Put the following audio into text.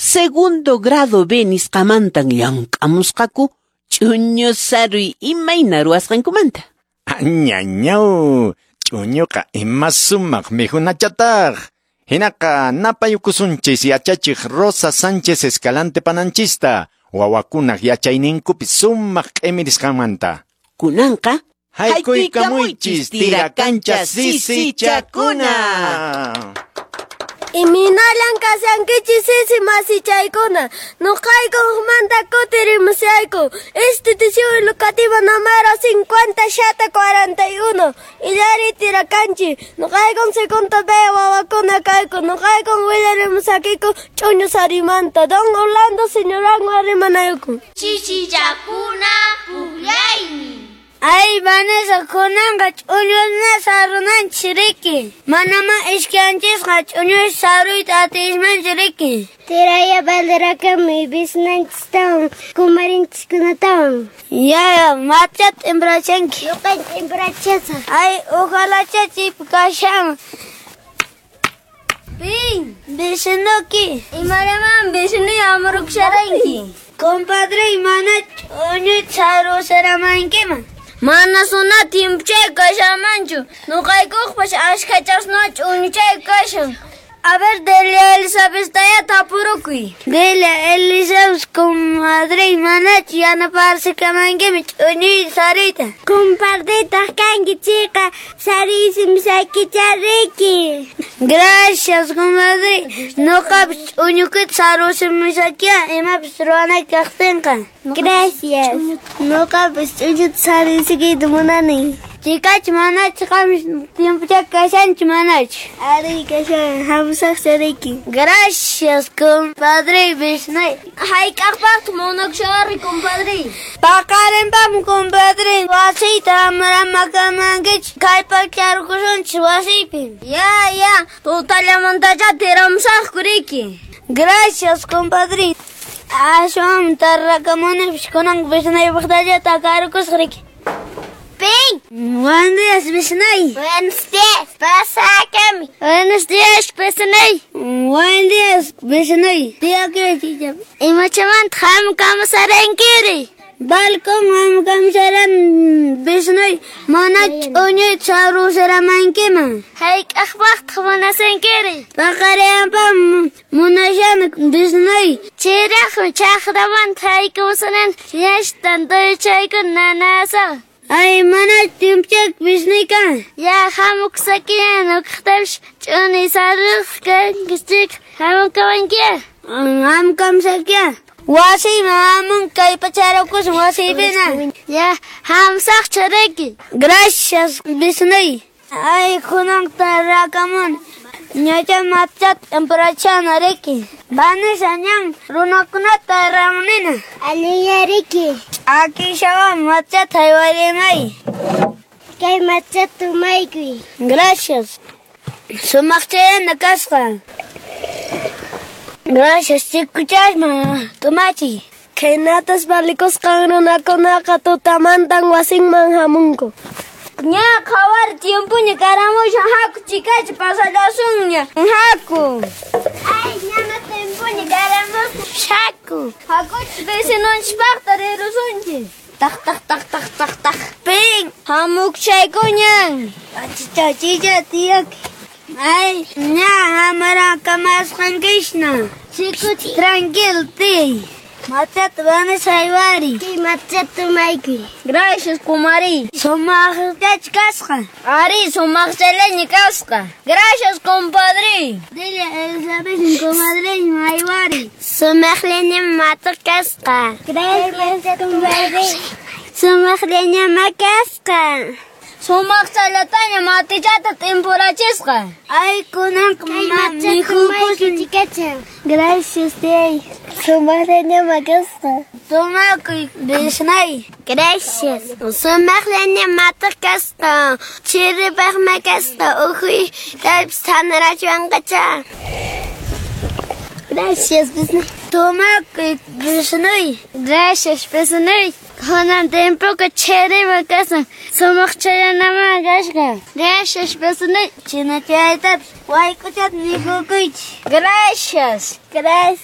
Segundo grado B nisqamantan llank'amusqaku ch'uñu saruy imayna ruwasqankumanta. Añañaw, ch'uñuqa ima sumaq mikhunachataq. Hinaqa napayukusunchis yachachiq Rosa Sánchez Escalante pananchista, wawakunaq yachayninkupi sumaq q'imirisqanmanta. Kunanqa Haykuykamuychis tirakancha sisichakuna. Iminalan kashankichis sisi masichaykuna. Nuqayku hukmanta kutirimushayku. Institución Educativa número 5741. Illari tirakanchi. Nuqaykun segundo B wawakuna kayku. Nuqaykun willarimusakiku ch'uñu sarimanta. Don Orlando señoranwan rimanayku. Chichichakuna pukllaymi. Ay, Vanessa, kunanqa ch'uñusna sarunanchis riki. Manamá iskanchisqa ch'uñus saruyta atismanchu riki. Tiraya banderakami bisnanchistawan kumarinchiskunatawan. Ya, machat imbrachanki. Ñuqanchis imbrachasaq. Ay, ojalá chaypi kashan. Pin, vecinoki. Imaraman vecino amruksharanki. Compadre, mana ch'uñu sarusaramankiman. Mana suna tiempuchay kashanmanchu. Nuqaykuqpas ashkhachasna ch'uñuchay kashan. A ver, Delia Elizabeth tapurukuy. Delia Elizabeth, comadre, manachu yanaparsikamankiman ch'uñuy saruyta. Compadretaq kanki chayqa sariysimusaykichá riki. Gracias, comadre. Nuqapis ch'uñukita sarusimusaykiya imapis ruwanayki kaqtinqa. Gracias. Nuqapis ch'uñuta saruysikiyta munani. Chikachi manachu qam tiempuchay kashanchu manachu. Ari kashan hamusaqcha riki. Gracias, compadre, vecinoy. Hayk'aqpaqtaq munakushawari, compadre? Paqarinpaqmi, compadre. Wasiyta amramakamankichis kallpacharukusunchis wasiypi. Ya, ya, tutallamantachá tiramusaqku riki. Gracias, compadre. Aswan tarrakamunipis kunan vecinaypaqtacha takarukusaq riki. Pin. Buenos días, vecinay. Buenos días, pasakami. Buenos días, vecinay. Buenos días, vecinay. Tía, chicha. Imachamanta hamkamusarankiri. Balcón hamkamusaran vecinay. Mana ch'uñuyta sarusaramankiman. Hayk'aqpaqtaq munasankiri. Paqarinpaq munashani vecinay. Chayraqmi chaqramanta haykamusanan yachtan tuychayku nanasan. Ay, mana tiempuchay vecinay kan. Ya, hamukusakiña nuqaqtapis ch'uñuy saruq kanki chayqa hamukawankiya. Hamkamusakiya. Wasiyman hamun kallpacharukusun wasiypina. Ya, hamusaqchu riki. Gracias, vecinay. Ay, kunan tarrakamun. Ñacha machat imprachana riki. Vanessa ñan runakunata ramunina. Allinya riki. Ch'akishawan machat haywarimay. Kay machat tumaykuy. Gracias. Sumaqchayana kasqa. Gracias, chikuchasma tumachiy. Khaynatas valikusqan runakunaqa tutamantan wasinman hamunku. Ña qhawar tiempuña karamushan haku chikachi pasallasunña. Haku. Ay, ñana tiempuña karamushan. Haku. Hakuchis vecinonchispaqta rirusunchis. Taq taq taq taq taq taq. Pin, hamukchaykuñan. Achicha chicha tiyaki. Ay, ña hamarakamasqankishna. Chikuchi tranquilo tiy. Machat Vanessa haywari. Kay machat tumaykuy. Gracias, kumari. Sumaqchach kasqa. Ari, sumaqchalaña kasqa. Gracias, compadre. Delia Elizabeth, comadre, haywari. Sumaqllaña matu kasqa. Gracias, compadre. Sumaqllaña makasqa. Sumaqchallataña matichata t'impurachisqa. Ay, kunanqa mikhukusun. Gracias, tiyay. Sumaqllaña makasqa. Tumakuy, vecinay. Gracias. Sumaqllaña matu kasqa. Chiripaq makasqa uhuy talpis thanarachiwanqacha. Gracias, vecinay. Tumakuy, vecinay. Gracias, vecinay. Kunan tiempoqa chirima kasan. Sumaqchayanamá kasqa. Gracias, vecinay. Chinachaytapis wayk'uchata mikhukuychis. Gracias. Gracias.